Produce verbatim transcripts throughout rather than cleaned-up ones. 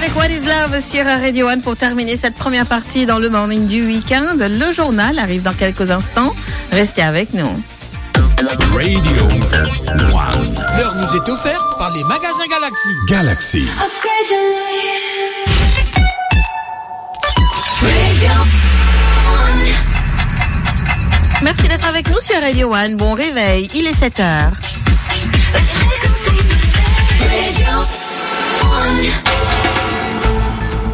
Avec What is Love sur Radio One pour terminer cette première partie dans le morning du week-end. Le journal arrive dans quelques instants. Restez avec nous. Radio One. L'heure vous est offerte par les magasins Galaxy. Galaxy. Upgrade your life. Radio One. Merci d'être avec nous sur Radio One. Bon réveil, il est sept heures.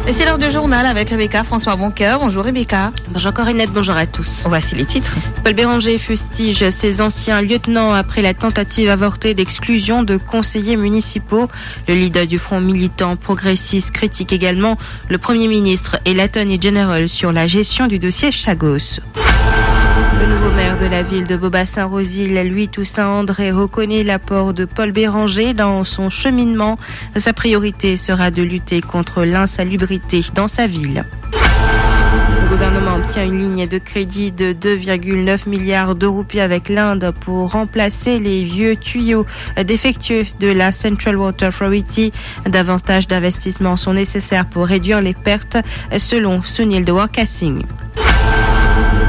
Et c'est l'heure du journal avec Rebecca François Boncoeur. Bonjour Rebecca. Bonjour Corinette, bonjour à tous. Voici les titres. Paul Bérenger fustige ses anciens lieutenants après la tentative avortée d'exclusion de conseillers municipaux. Le leader du Front militant progressiste critique également le Premier ministre et l'Attorney General sur la gestion du dossier Chagos. Le nouveau maire de la ville de Bobassin-Rosil, Louis Toussaint André, reconnaît l'apport de Paul Bérenger dans son cheminement. Sa priorité sera de lutter contre l'insalubrité dans sa ville. Le gouvernement obtient une ligne de crédit de deux virgule neuf milliards de roupies avec l'Inde pour remplacer les vieux tuyaux défectueux de la Central Water Authority. Davantage d'investissements sont nécessaires pour réduire les pertes, selon Sunil Dwarka Singh.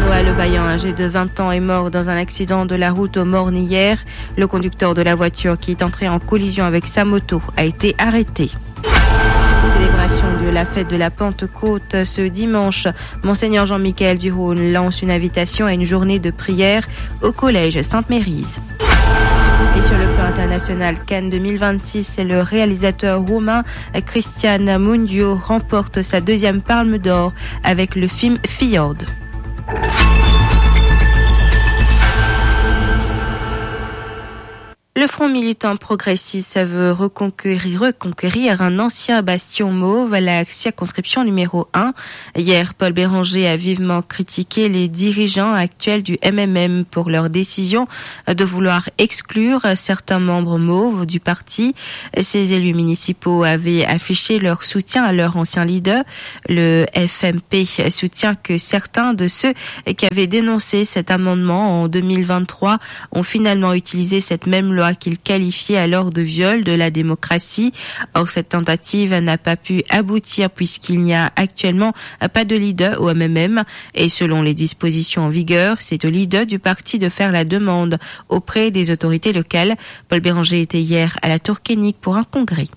Noah Levaillant, âgé de vingt ans, est mort dans un accident de la route au Morne hier. Le conducteur de la voiture qui est entré en collision avec sa moto a été arrêté. Célébration de la fête de la Pentecôte ce dimanche. Monseigneur Jean-Michel Durhon lance une invitation à une journée de prière au collège Sainte-Mérise. Et sur le plan international, Cannes deux mille vingt-six, c'est le réalisateur roumain Cristian Mungiu remporte sa deuxième Palme d'Or avec le film Fjord. Le Front militant progressiste veut reconquérir, reconquérir un ancien bastion mauve à la circonscription numéro un. Hier, Paul Bérenger a vivement critiqué les dirigeants actuels du M M M pour leur décision de vouloir exclure certains membres mauves du parti. Ces élus municipaux avaient affiché leur soutien à leur ancien leader. Le F M P soutient que certains de ceux qui avaient dénoncé cet amendement en deux mille vingt-trois ont finalement utilisé cette même loi qu'ils qualifiaient alors de viol de la démocratie. Or, cette tentative n'a pas pu aboutir puisqu'il n'y a actuellement pas de leader au M M M. Et selon les dispositions en vigueur, c'est au leader du parti de faire la demande auprès des autorités locales. Paul Bérenger était hier à la Tour Koenig pour un congrès.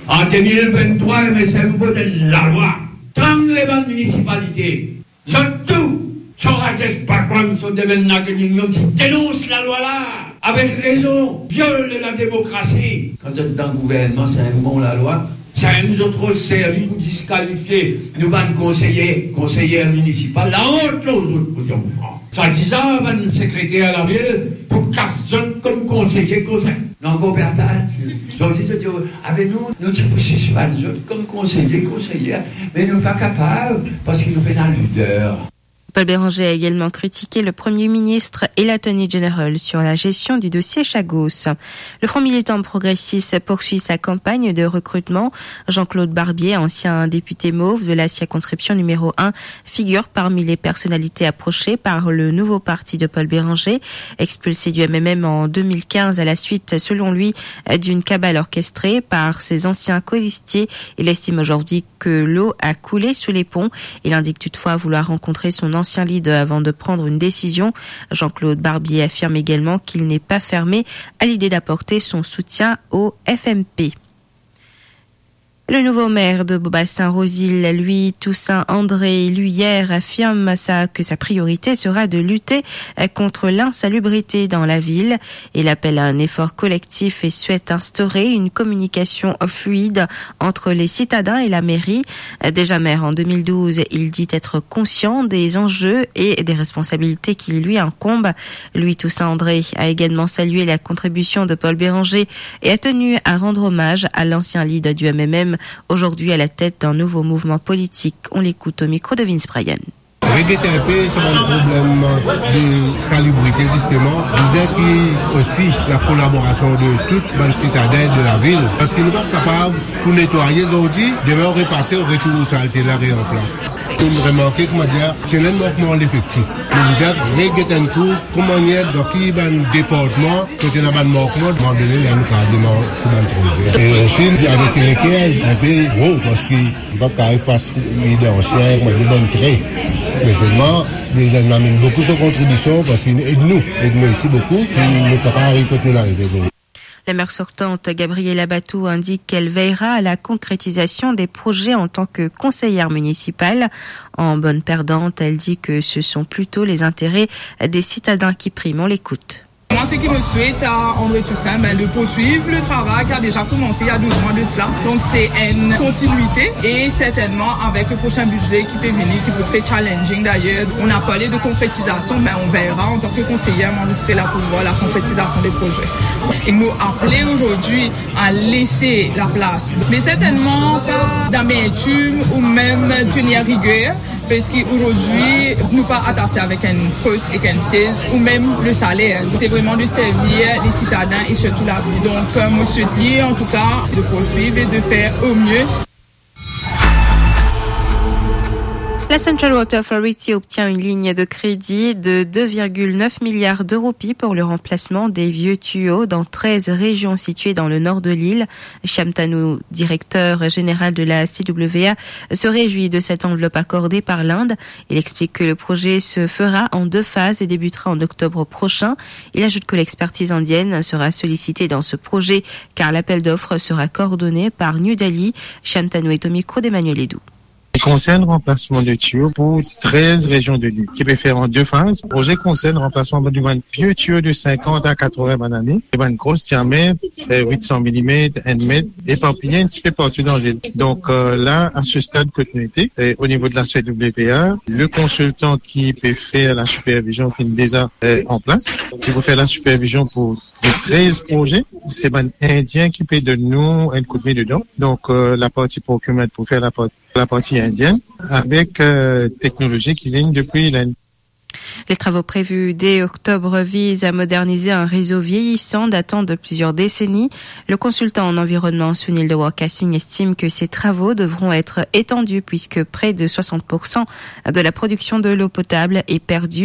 An de mil venntrwa, M S M vot enn lalwa, tann lebann minisipalite, zot tou, Sorajest Bhagwan, zot devenn Naganingnom, ti denons lalwa la, avek rezon, viol de la demokrasi. Kan zot dan gouvernman, sa enn bon lalwa, sa enn zot rod servi pou diskalifie nou bann konseye, konseyer minisipal, laont lor zot, pou dir fran. Swadizan bann sekreter lavil pou kas zot kom konseye, konseye. Non, ankor pe atann. Zordi, zot dir, avek nou, nou ti pou sispann zot kom konseye, konseyer, me nou pa kapav, parski nou pena lider. Paul Bérenger a également critiqué le Premier ministre et l'Attorney General sur la gestion du dossier Chagos. Le Front militant progressiste poursuit sa campagne de recrutement. Jean-Claude Barbier, ancien député mauve de la circonscription numéro un, figure parmi les personnalités approchées par le nouveau parti de Paul Bérenger. Expulsé du M M M en deux mille quinze à la suite, selon lui, d'une cabale orchestrée par ses anciens colistiers, il estime aujourd'hui que l'eau a coulé sous les ponts. Il indique toutefois vouloir rencontrer son ancien leader avant de prendre une décision. Jean-Claude Barbier affirme également qu'il n'est pas fermé à l'idée d'apporter son soutien au F M P. Le nouveau maire de Bobassin-Rosil, Louis Toussaint André, élu hier, affirme sa, que sa priorité sera de lutter, euh, contre l'insalubrité dans la ville. Il appelle à un effort collectif et souhaite instaurer une communication fluide entre les citadins et la mairie. Euh, déjà maire en deux mille douze, il dit être conscient des enjeux et des responsabilités qui lui incombent. Louis Toussaint André a également salué la contribution de Paul Bérenger et a tenu à rendre hommage à l'ancien leader du M M M, aujourd'hui à la tête d'un nouveau mouvement politique. On l'écoute au micro de Vince Bryan. Reget inpe sa bann problem de salibrite, zisteman, bizin ki osi lakolaborasion de tou bann sitaden de lavil, parski nou pa kapav pou netwaye zordi, demin ou repase, ou retourn salte la re an plas. Pou nou remarke, koumadir, ti ena mankman lefektif. Nou bizin reget enn kou, kouma enn, dan ki bann departman, kote ena bann mankman, moman done, la nou kapav demann tou bann proze. E osi, avek leker, inpe gro, parski li pa kapav efas li dan sien, kouma dir, bann tre. Me selman, li amenn boukou so kontribision, parski li ed nou, ed nou osi boukou, ki nou kapav ariv kot nou arive. La maire sortante, Gabriela Batou, indique qu'elle veillera à la concrétisation des projets en tant que conseillère municipale. En bonne perdante, elle dit que ce sont plutôt les intérêts des citadins qui priment. On l'écoute. Moi, ce qui me souhaite à André Toussaint, ben, de poursuivre le travail qui a déjà commencé il y a douze mois de cela. Donc, c'est une continuité et certainement avec le prochain budget qui peut venir, qui peut être très challenging d'ailleurs. On a parlé de concrétisation, mais on verra. En tant que conseillère, moi, je serai là pour voir la concrétisation des projets. Et nous appeler aujourd'hui à laisser la place, mais certainement pas d'amertume ou même tenir rigueur, parce qu'aujourd'hui, nous pas attachés avec un poste et un siège ou même le salaire. C'est vraiment de servir les citadins et surtout la vie. Donc, euh, monsieur Tli, en tout cas, de poursuivre et de faire au mieux. La Central Water Authority obtient une ligne de crédit de deux virgule neuf milliards de roupies pour le remplacement des vieux tuyaux dans treize régions situées dans le nord de l'île. Shyam Tanu, directeur général de la C W A, se réjouit de cette enveloppe accordée par l'Inde. Il explique que le projet se fera en deux phases et débutera en octobre prochain. Il ajoute que l'expertise indienne sera sollicitée dans ce projet car l'appel d'offres sera coordonné par New Delhi. Shyam Tanu est au micro d'Emmanuel Edou. Li konsern ranplasman de tiyo pou trez rezion de lil, ki pe fer an de faz. Proze konsern ranplasman bann, bann vie tiyo de sinkant a katrevin bann ane, e bann gro diamet, eh, wit san milimet, enn met, eparpiye enn tipe partou dan lil. Donk, eh, la, a se stad kot nou ete, eh, o nivo de la C W A, le konsiltan ki pe fer la sipervizion ki deza, eh, an plas, ki pe fer la sipervizion pou de trez proze, se bann Indien ki pe donn nou enn koudme dedan. Donk, eh, laparti procurement pou fer laparti laparti indienne, avek, eh, teknolozi ki vinn depi Lind. Les travaux prévus dès octobre visent à moderniser un réseau vieillissant datant de plusieurs décennies. Le consultant en environnement, Sunil Dewar Kasing, estime que ces travaux devront être étendus puisque près de soixante pour cent de la production de l'eau potable est perdue.